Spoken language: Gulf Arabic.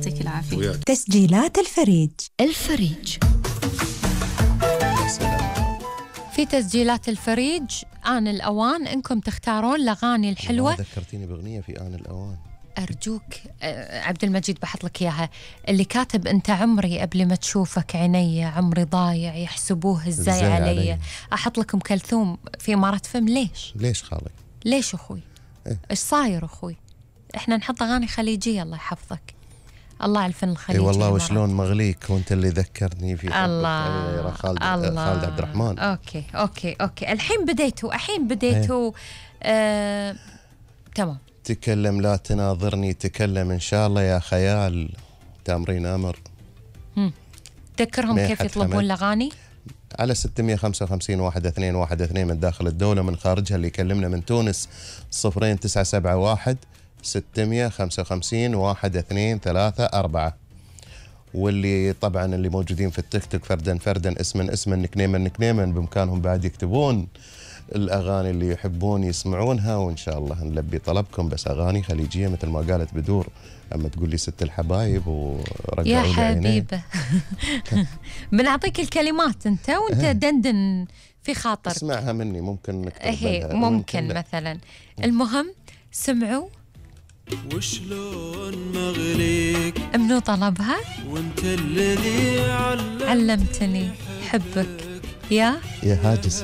يعطيك العافية. تسجيلات الفريج. في تسجيلات الفريج آن الأوان إنكم تختارون الأغاني الحلوة. ذكرتيني بأغنية في آن الأوان. أرجوك عبد المجيد بحط لك إياها، اللي كاتب أنت عمري قبل ما تشوفك عيني، عمري ضايع يحسبوه إزاي علي. أحط لكم كلثوم في إمارة فم. ليش خالك؟ ليش أخوي؟ إيش صاير أخوي؟ إحنا نحط أغاني خليجية. الله يحفظك. الله على الفن الخليجي. والله وشلون مغليك وانت اللي ذكرني في الله خالد عبد الرحمن. اوكي الحين بديتوا تمام. تكلم لا تناظرني، تكلم ان شاء الله يا خيال، تامرين امر. تذكرهم كيف يطلبون الاغاني؟ على 655 1212 من داخل الدولة، من خارجها اللي يكلمنا من تونس 0971 655 1234. واللي طبعا اللي موجودين في التيك توك فردا اسما نكنيما بإمكانهم بعد يكتبون الأغاني اللي يحبون يسمعونها، وإن شاء الله نلبي طلبكم. بس أغاني خليجية مثل ما قالت بدور، أما تقول لي ست الحبايب ورجعوا يا حبيبة بنعطيك الكلمات أنت وأنت دندن في خاطرك. اسمعها مني، ممكن نكتب ممكن مثلا. المهم سمعوا وشلون مغليك منو طلبها؟ وانت الذي علمتني حبك يا هاجس.